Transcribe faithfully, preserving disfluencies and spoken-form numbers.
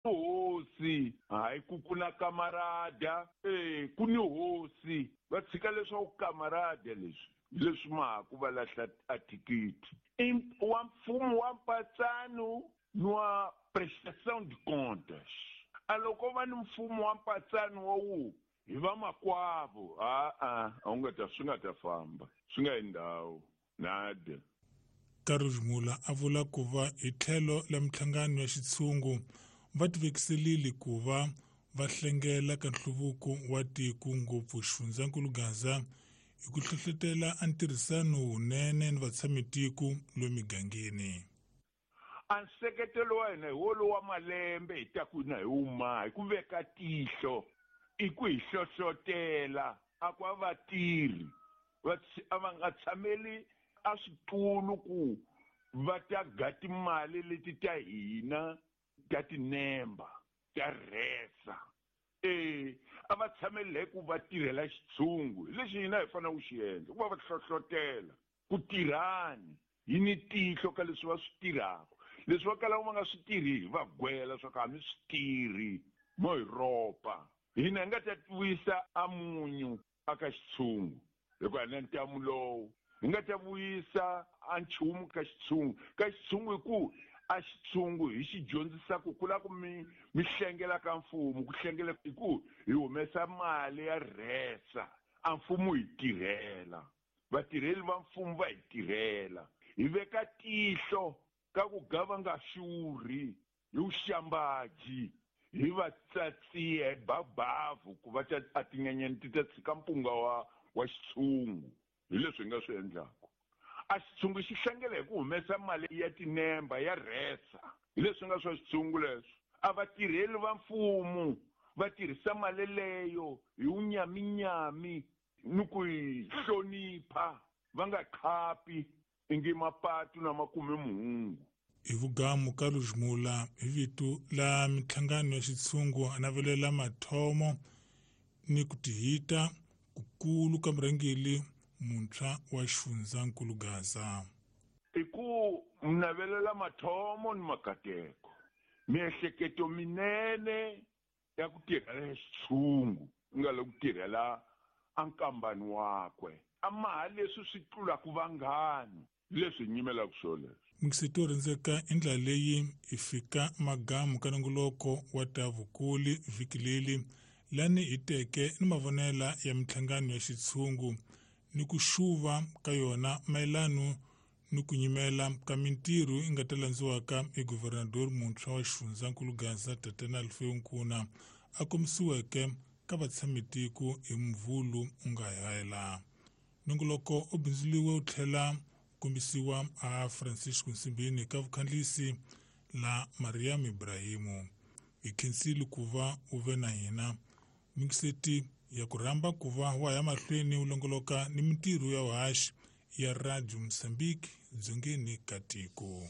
Hosi hayi ku ku na kamarada e ku ni hosi va tshika leswaku kamarada leswi leswi mahaku va lahla a thikithi wa mfumo wa mpatsano ni wa prestação de contas. A loko va ni mfumo wa mpatsano wa wu hi vamakwavo a-a a wu nga ta swi nga ta famba swi nga yi ndhawu nada. Carlos Mula a vula ku va hi tlhelo la minhlangano ya xitshungu va tivekiselile ku va va hlengela ka nhluvuko wa tiko ngopfu xifundzankulu Gaza hi ku hlohlotela a ntirhisano wunene ni vatshamitiko lomu migangeni. A nseketelo wa hina hi wolowo wa malembe hi ta ku na hi wuma hi ku veka tihlo i ku hi hlohlotela a ku a vatirhi va a va nga tshameli a switulu ku va ta ga timali leti ta hina ta tinemba ta rhesa e a va tshameli hi ku va tirhela xitshungu hi lexi hina hi fanele ku xi endla ku va va hlohlotela ku tirhani hi ni tihlo ka leswi va swi tirhaka leswi va kalaka va nga swi tirhi hi va gwela swa ku a mi swi tirhi mo hi ropa hina hi nga ta vuyisa a munyu aka xitshungu hikuva hi na ntamu lowu hi nga ta vuyisa a nchumu ka xitshungu ka xitshungu hi ku a xitshungu hi xi dyondzisa ku ku lava ku mi mi hlengela ka mfumo ku hlengela hi ku hi humesa mali ya rhesa a mfumo hi tirhela vatirheli va mfumo va hi tirhela hi veka tihlo ka ku ga va nga xurhi hi vuxambaji hi va tsatsiya hi babavu ku va ta a tinyenyani ti ta tshika mpunga wa wa xitshungu hi leswi hi nga swi endlaka a xitshungu xi hlangela hi ku humesa mali ya tinemba ya rhesa hi leswi nga swa xitshungu leswo a vatirheli va mfumo va tirhisa mali leyo hi wunyaminyami ni ku yi hlonipha va nga khapi ingi mapatu na makume muhungu. Hi vugamu Carlos Mula hi vito la minhlangano ya xitshungu a navelela mathomo ni ku tihita kukulu ka murhangeri muntshwa wa xifundzankulu Gaza. I ku navelela mathomo ni makateko miehleketo minene ya ku tirhela xitshungu nga le ku tirhela a nkambani wakwe a maha leswi swi tlulaka vanghana leswi hi nyimelaka swo leswo. Mixito rindzeka i ndlela leyi hi fika magamu ka nongoloko wa ta vukuli vhiki leli lani hi teke ni mavonela ya minhlangano ya xitshungu ni ku xuva ka yona mayelano ni ku nyimela ka mintirho yi nga ta landziwaka hi guvernador muntshwa wa xifundzankulu Gaza Tatana Alfeu Nkuna a kombisiweke ka vatshamitiko hi Mvhulu u nga hela. Nongoloko u bindzuriwe u tlhela kombisiwa a Francisco Nsimbini ka vukhandlisi la Mariam Ibrahimu. Hi khensile ku va u ve na hina mixeti ya ku rhamba ku va wa ya mahlweni u longoloka ni mintirho ya vuhaxi ya Radio Mozambique dzongeni ka tiko.